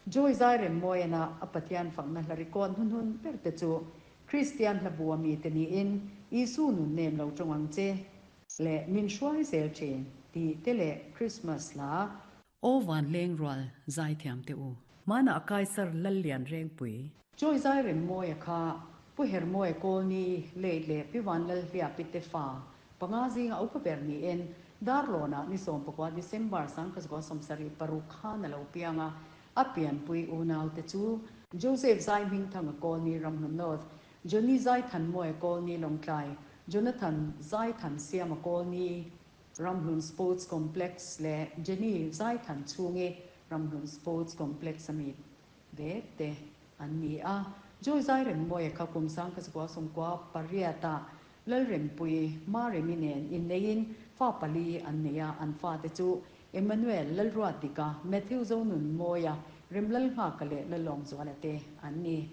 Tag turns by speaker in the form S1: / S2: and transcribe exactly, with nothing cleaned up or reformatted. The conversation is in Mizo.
S1: Joy Zairemmawia a Pathian fakna hla record hnuhnun ber te chu Kristian hla bu ami te niin Isu nun nem lo tawng ang che leh min hruai zel thin tih te leh Christmas hla
S2: Aw van leng rual zaithiam te u. Mana Kaisar Lallian Rengpui.
S1: Joy Zairemmawia kha Pu Hermawia Kawlni late leh Pi Vanlalhliapi te fa panga zinga upa ber niin Darlawnah ni sawm pakua December sangkhat zakua sawmsarih paruk khan a lo piang a, a pianpui unau te chu Joseph Zaihmingthanga Kawlni Ramhlun North, Johnny Zaithanmawia Kawlni Lawngtlai, Jonathan Zaithansiama Kawlni Ramhlun Sports Complex leh Jenny Zaithanchhungi Ramhlun Sports Complex ami ve te an ni a. Joy Zairemmawia kha kum sangkhat zakua sawmkua pariatah Lalrempui Maremi nen inneiin fa pali an nei a, an fate chu Emmanuel Lalruatdika, Matthew Zonunmawia, Remlalnghaka leh Lalawmzuala te an ni.